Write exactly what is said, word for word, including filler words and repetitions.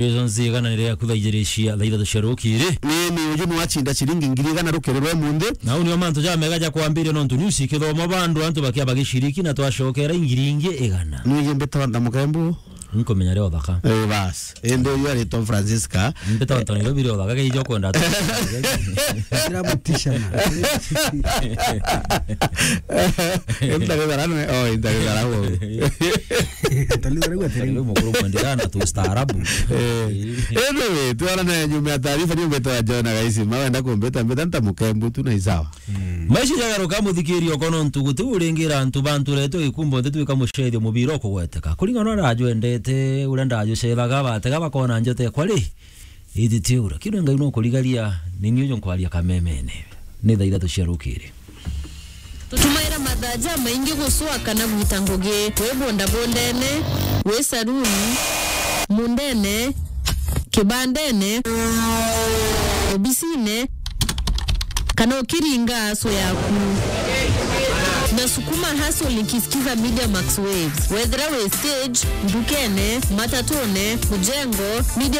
Congratulations, igana ni riaku thaa ijiri cia, thaa ithatu cia rukiri. Ni, ni uju ni wacinda ciringi ngiri igana rukiri rwa umunthi. Na uu nio mantu jamega ja kwambiria nontu news ikithomwa bandu, antu bakia bagiciriki na twacokera ngiri ingi igana. Ni uju mbitwa Nthamukembu. Nkumenya rio thaka. Eh, bas. Indi uyu aritwa Francisca. Mbitwa Nthamukembu rio thaka, keijo kwenda tu. Kira mutisha na. Enda githara nwe, oh, enda githara wo. Tani thara gwa tiri. Mukuru mwendelea na tu staarabu. Eh. Anyway, twarana nyuma ya taarifa, ni mbeta ya John Agaisi. Mawenda kumbeta, mbeta Nthamukembu tu na isawa. Maisha jagaruka, muthikiri, okono ntu guti uringira antu banturetwe gikumbo nti twika mucethio mubira ukugweteka. Kuringana na uria ajwendete, uria ndajwicethaga, batega bakona njote kwa ri. Ithiti ura. Kiri Ngai no kurigaria, ni ni uju nkwaria kamemene. Ni thaa ithatu cia rukiri. Tutumaira mathaa jamaingi gucwa kana gwita ngugi. Wi bondabondene, wi saruni, mundene, kibandene, obisine, kana ukiringa aso yaku. Na sukuma hustle nikisikiza Media Max Waves. Wethira wi stage, ndukene, matatune, mujengo, media